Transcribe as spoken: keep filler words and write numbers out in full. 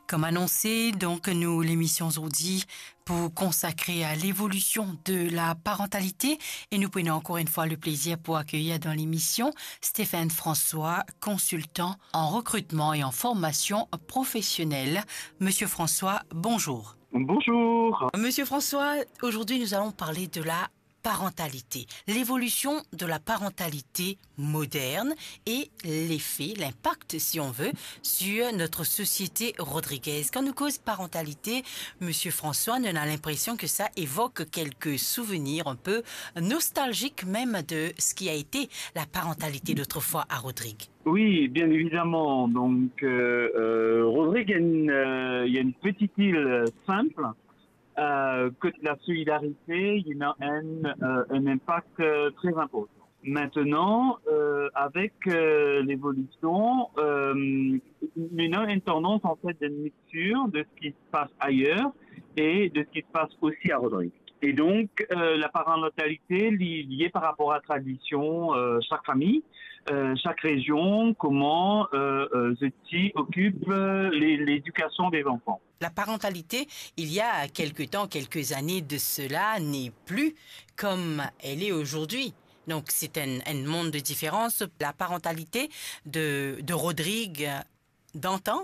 Comme annoncé, donc, nou lemision zordi pou konsakre à l'évolution de la parentalité. Et nous prenons encore une fois le plaisir pour accueillir dans l'émission Stéphane François, consultant en recrutement et en formation professionnelle. Monsieur François, bonjour. Bonjour. Monsieur François, aujourd'hui nous allons parler de la parentalité, l'évolution de la parentalité moderne et l'effet, l'impact, si on veut, sur notre société rodriguaise. Quand nous cause parentalité, Monsieur François, on a l'impression que ça évoque quelques souvenirs un peu nostalgiques même de ce qui a été la parentalité d'autrefois à Rodrigue. Oui, bien évidemment. Donc, euh, euh, Rodrigue, il y a une, euh, il y a une petite île simple, euh, kot la solidarité, il y a un, euh, un impact, euh, très important. Maintenant, euh, avec, euh, l'évolution, euh, il y a une tendance, en fait, de mixture de ce qui se passe ailleurs et de ce qui se passe aussi à Rodrigue. Et donc, euh, la parentalité li-, liée par rapport à la tradition, euh, chaque famille, euh, chaque région, comment, euh, euh, zot ti occupe, euh, l'é-, l'éducation des enfants. La parentalité, il y a quelque temps, quelques années de cela, n'est plus comme elle est aujourd'hui. Donc, c'est un, un monde de différence. La parentalité de, de Rodrigue d'antan